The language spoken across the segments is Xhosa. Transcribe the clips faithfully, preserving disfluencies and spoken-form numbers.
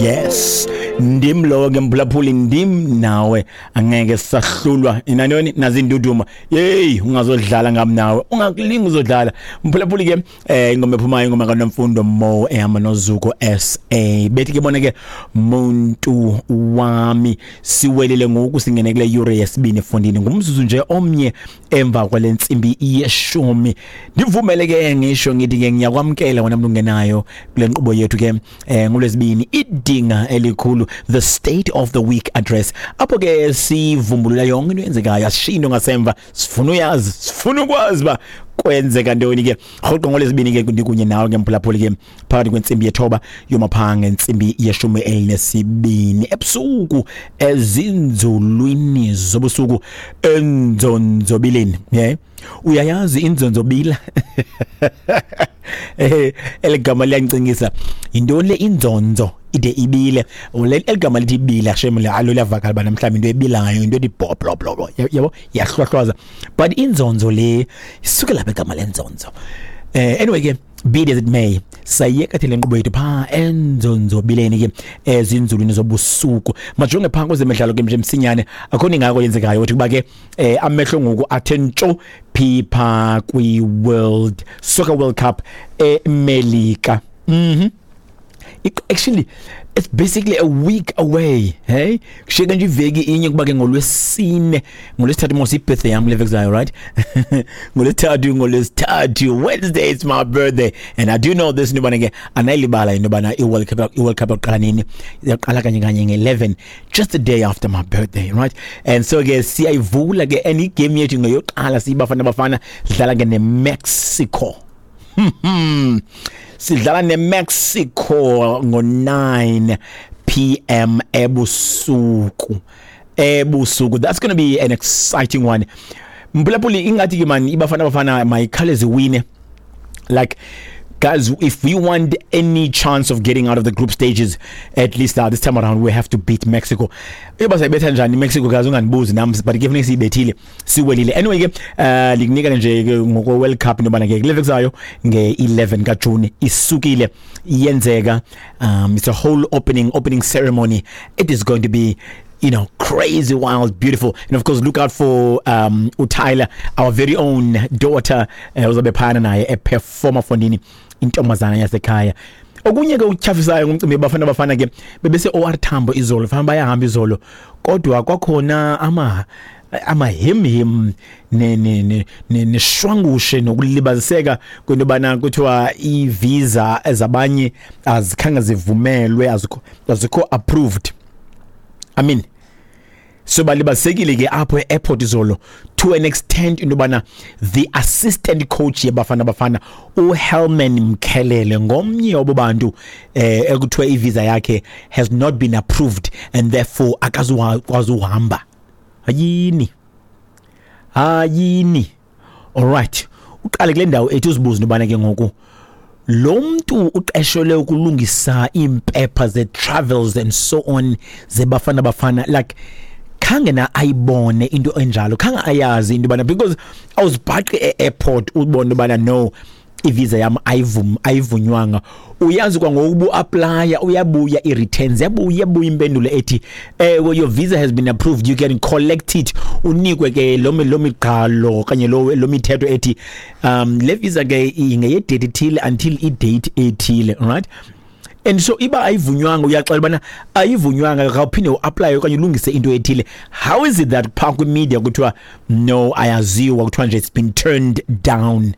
Yes, ndim lowo ke, mphulaphuli, ndim nawe, angeke sahlulwa inantoni nazinduduma. Yeyi, ungazodlala ngam nawe, ungakulinga uzodlala, mphulaphuli. Ke eh ingoma ephumayo, ingoma kaNomfundo Mo ehamba noZuko S A, bethi ke bona ke "Muntu Wami". Siwelile ngoku, singene kule yure yesibini efundini, ngumzuzu nje omnye emva kwale ntsimbi yeshumi. Ndivumele ke ngisho ngithi ke ngiyakwamkela wena mntu ungenayo kule nkqubo yethu ke eh ngolwesibini, Idinga Elikhulu, the State of the Week Address, apho ke sivumbulula yonke into eyenzekayo, asishiyi into ngasemva. Sifuna uyazi, sifuna ukwazi uba kwenzeka ntoni ke rhoqo ngolwesibini. Ke ndikunye nawe ke, mphulaphuli, ke phakathi kwentsimbi yethoba yomapha ngentsimbi yeshumi elinesibini ebusuku, ezinzulwini zobusuku, enzonzobileni. Yeah, uyayazi inzonzobila, eh eligama liyancingisa. Yintoni le inzonzo ide ibile? Le eligama lithi ibila, shame, alo liyavakala bana mhlawumbi into ebilayo, into ethi blo blo blo, yabo, yahlwahlwaza, but inzonzo le isuke lapha igama lenzonzo. eh anyway ke, be it as it may, sayiyeka thina le nkqubo yethu phaa enzonzobileni ke, ezinzulwini zobusuku. Majonge phaa kwezemidlalo ke nje msinyane, akho ningako yenzekayo uthi kuba ke eh amehlo ngoku athe ntsho phi phaa kwi-World Soccer World Cup eMelika. mhm It, actually it's basically a week away. Hey, kushiyeka nje iveki inye kuba ke ngolwesine, ngolwesithathu mos ibirthday yami le veki, right? Ngolwesithathu, ngolwesithathu, Wednesday is my birthday, and I do know this, into yobana ke anayilibala into yobana i-World Cup i-World Cup yaqala nini. Yaqala kanye kanye nge-eleven, just the day after my birthday, right? And so ke siyayivula ke, and igame yethu ngeyoqala siyiBafana Bafana, sidlala ke neMexico. Sidlala neMexico ngo-nine P M ebusuku ebusuku That's going to be an exciting one, mphulaphuli. Ingathi ke man iBafana Bafana mayikhawuleze wine. Like, guys, if we want any chance of getting out of the group stages, at least uh, this time around we have to beat Mexico. Iba sayibetha njani Mexico, guys, unganibuzi nami, but ke funeka siyibethile, siwelile. Anyway ke, uh likunika nje ke ngoko World Cup into bana ke kule veki nge-eleven kaJune isukile iyenzeka. um it's a whole opening opening ceremony. It is going to be you know crazy, wild, beautiful. And of course look out for um uTyler, our very own daughter, uh, uzobe phana naye eperformer fondini, intombazana yasekhaya. Okunye ke ukutyhafisayo ngumcimbi, Bafana Bafana ke bebese O R Tambo izolo, fana bayahamba izolo, kodwa kwakhona ama amahemhem ne ne ne neshwangushe nokulibaziseka kwento bana kuthiwa i-visa ezabanye azikhange zivumelwe, azikho azikho approved. I mean, so balibasekile ke apho e-airport izolo to an extent into bana the assistant coach yeBafana Bafana, uHelman Mkhelele, ngomnye wabo bantu eh ekuthiwa ivisa yakhe has not been approved and therefore akazukwazi uhamba. Hayini, hayini. Alright, uqale kule ndawo ethi uzibuze into bana ke ngoku lo muntu uqeshelwe ukulungisa impepha ze travels and so on zeBafana Bafana, like, khange na ayibone into enjalo, khange ayazi into bana, because awuzibhaqi e-airport ubone bana no, ivisa yami ayivum ayivunywanga. Uyazi kwangoku uapply, uyabuya i-returns, yabuya yabuya impendulo ethi eh "Your visa has been approved, you can collect it." Unikwe ke lo lo miqalo kanye lo lo mithetho ethi um le visa ke ingeye date ethile until i date ethile, right? And so iba ayivunywanga, uyaxela bana ayivunywanga, khawuphinde uapply okanye ulungise into ethile. How is it that phaa kwimedia kuthiwa no, ayaziwa, kuthiwa nje it's been turned down?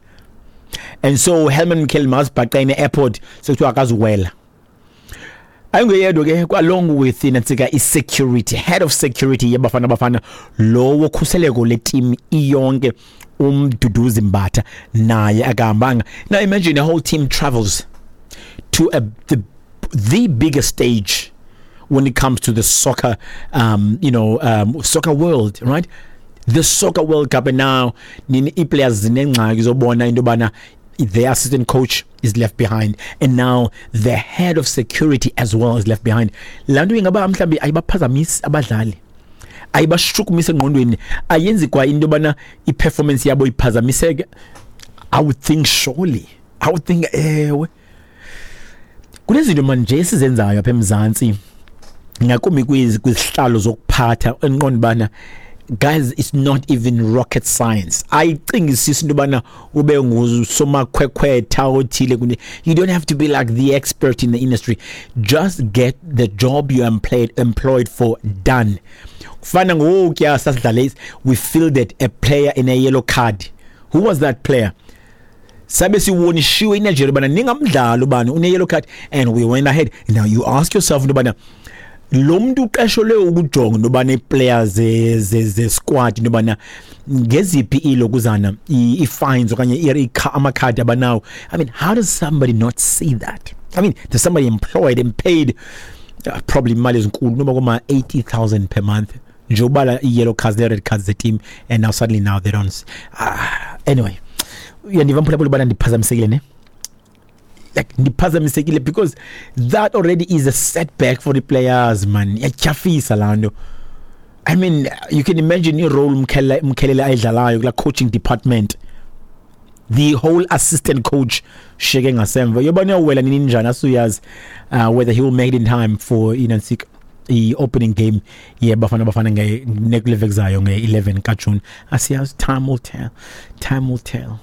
And so Helman Mkhelele mazibhaqa ene-airport, sekuthiwa akazuwela. Ayingeyedwa ke, along with inantsika i-security, head of security yeBafana Bafana, lo wokhuseleko le team iyonke, uMduduzi Mbatha, naye akahambanga. Now imagine a whole team travels to a, the the biggest stage when it comes to the soccer um you know um soccer world, right? The Soccer World Cup. And now nini i-players zinengxaki zobona into yobana the assistant coach is left behind and now the head of security as well is left behind. Laa nto ingaba mhlawumbi ayibaphazamisi abadlali, ayibashukumisi engqondweni, ayenzi kwa into yobana i-performance yabo iphazamiseke? I would think, surely I would think ewe. Kunezinto manje esizenzayo apha eMzantsi, ngakumbi kwizihlalo zokuphatha, endiqonda ubana guys, it's not even rocket science. Ayicingisisi into yobana ube ngusomakhwekhwetha othile. You don't have to be like the expert in the industry. Just get the job you employed employed for done. Kufana ngokuya sasidlale, we fielded a player in a yellow card. Who was that player? Sabe siwonishiwe iNigeria bana ningamdlali ubani une yellow card, and we went ahead. Now you ask yourself into bana lo muntu uqeshelwe ukujonga into bana ii-players ze squad into bana ngeziphi ilokuzana i-fines okanye amakhadi abanawo. I mean, how does somebody not see that? I mean, there's somebody employed and paid uh, probably imali ezinkulu noba koma eighty thousand per month nje ubala i-yellow cards, the red cards, the team, and now suddenly now they don't. uh, anyway uyandiva mphulaphula ubana ndiphazamisekile ne, like ndiphazamisekile because that already is a setback for the players, man. Iyatyhafisa laa nto. I mean, you can imagine i-role Mkhelele Mkhelele ayidlalayo kula coaching department. The whole assistant coach sheke ngasemva yobona uyawela nini njani, asuyazi uh, whether he will make it in time for inantsika i-opening game yeBafana Bafana ngekule veki zayo nge-eleven kaJune. Asiyazi, time will tell, time will tell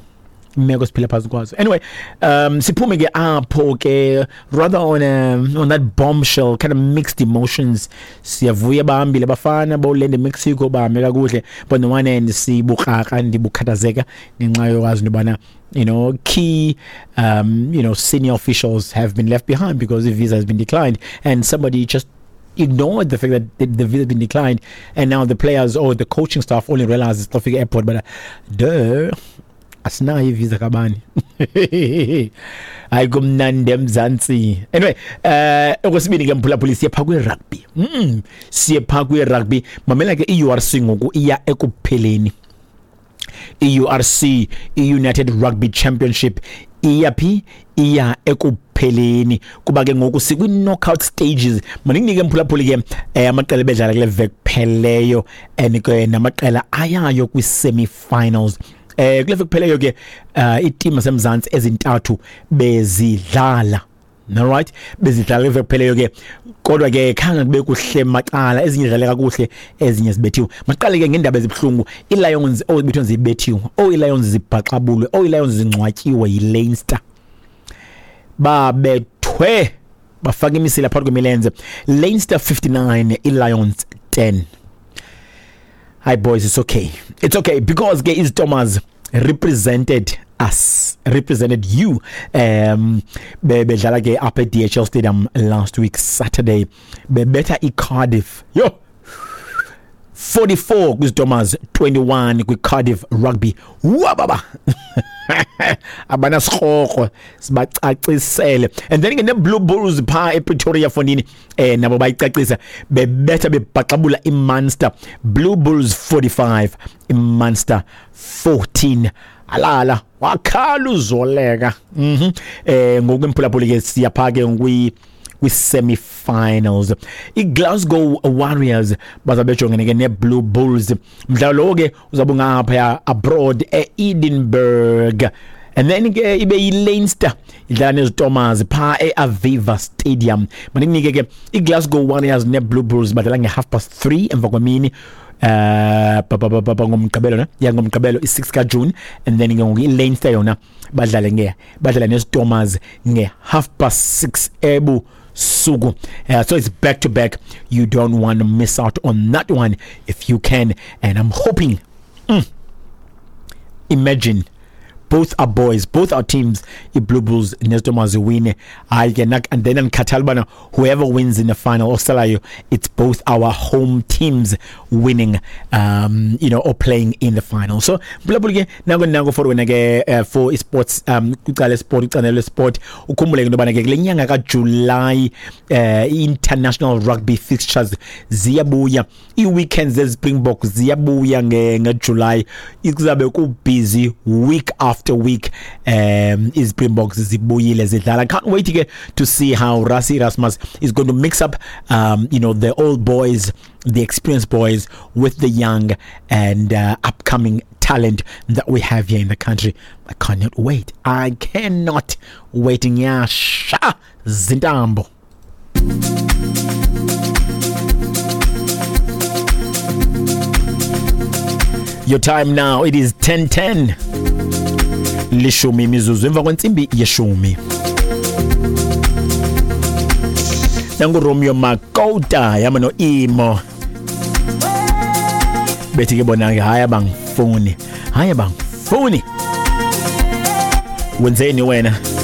imeko siphila phantsi kwazo. Anyway, um siphume ke apho ke rather on a, on that bombshell, kind of mixed emotions. Siyavuya bahambile bafana bawulenda eMexico, bahambe kakuhle, but on the one hand sibukrakra, ndibukhathazeka ngenxa yokwazi into yobana you know key um you know senior officials have been left behind because the visa has been declined, and somebody just ignored the fact that the, the visa has been declined, and now the players or the coaching staff only realize it's Traffic Airport, but uh, duh, asinayo ivisa kabani. Hayi, kumnandi eMzantsi. Anyway, eh okwesibini ke mphulaphuli, siye phaa kwi-rugby. mm siye phaa kwi-rugby. Mamela ke, i-U R C ngoku iya ekupheleni. I-U R C, i-United Rugby Championship, iya phi? Iya ekupheleni, kuba ke ngoku sikwi-knockout stages. Mandikunike mphulaphuli ke eh, amaqela ebedlala kule veki pheleyo and ke namaqela ayayo kwi-semi-finals. eh kule veki pheleyo ke uh, iitimu zaseMzantsi ezintathu bezidlala. Alright, bezidlala kule veki pheleyo ke, kodwa ke khange kube kuhle macala. Ezinye zidlale kakuhle, ezinye zibethiwe. Maqale ke ngeendaba ezibuhlungu. Ii-Lions, oh bethwe, zibethiwe. Oh, ii-Lions zibhaxabulwe. Oh, ii-Lions zingcwatyiwe yiLeinster. Babethwe bafaka imisila phakathi kwemilenze. Leinster fifty-nine, ii-Lions ten. Hi boys, it's okay, it's okay, because ke iZiTomers represented us, represented you. um bebedlala ke apha e-D H L Stadium last week Saturday, bebetha iCardiff. Yo, forty-four kwiZiTomers, twenty-one kwiCardiff Rugby. Wababa abanasikrokro, sibacacisele. And then ke ne-Blue Bulls phaa ePretoria fondini, eh nabo bayicacisa, bebetha bebhaxabula iMunster. Blue Bulls forty-five, iMunster fourteen. Alala wakhala uzoleka. mhm eh ngoku emphulaphuli ke siyapha ke kwi kwi-semi-finals. I-Glasgow Warriors bazabe bejongene ke ne-Blue Bulls. Mdlalo lowo ke uzabe ungaphaya abroad e-Edinburgh, and then ke ibe yi-Leinster idlala neZiTomers phaa e-Aviva Stadium. Mandikunike ke, i-Glasgow Warriors ne-Blue Bulls badlala nge-half past three emva kwemini eh ngomgqibelo ne, ya, ngomgqibelo i-six kaJune, and then ke ngoku i-Leinster yona badlale nge badlala neZiTomers nge-half past six ebusuku. uh, so it's back to back. You don't want to miss out on that one if you can, and I'm hoping, mm, imagine both our boys, both our teams, i-Blue Bulls neZiTomers win. Hayi ke, and then andikhathali ubana whoever wins in the final osalayo, it's both our home teams winning um you know or playing in the final. So mphulaphuli ke, nako nako for wena ke uh, for isports, um kwicala sport, icandelo lesport. Ukhumbule ke into yobana ke kule nyanga kaJuly uh, international rugby fixtures ziyabuya, ii-weekends zeSpringbok ziyabuya ngeJuly. Kuzabe kubusy week after. after week um iSpringboks zibuyile zidlala. I can't wait ke to see how Rassie Erasmus is going to mix up um you know the old boys, the experienced boys with the young and uh, upcoming talent that we have here in the country. I cannot wait. I cannot wait. Nyasha zintambo. Your time now, it is ten ten. Lishumi imizuzu emva kwentsimbi yeshumi. Nangu Romeo Makota yama no Imo. Bethi ke bona ke hayi abangifuni. Hayi abangifuni. Wenzeni wena?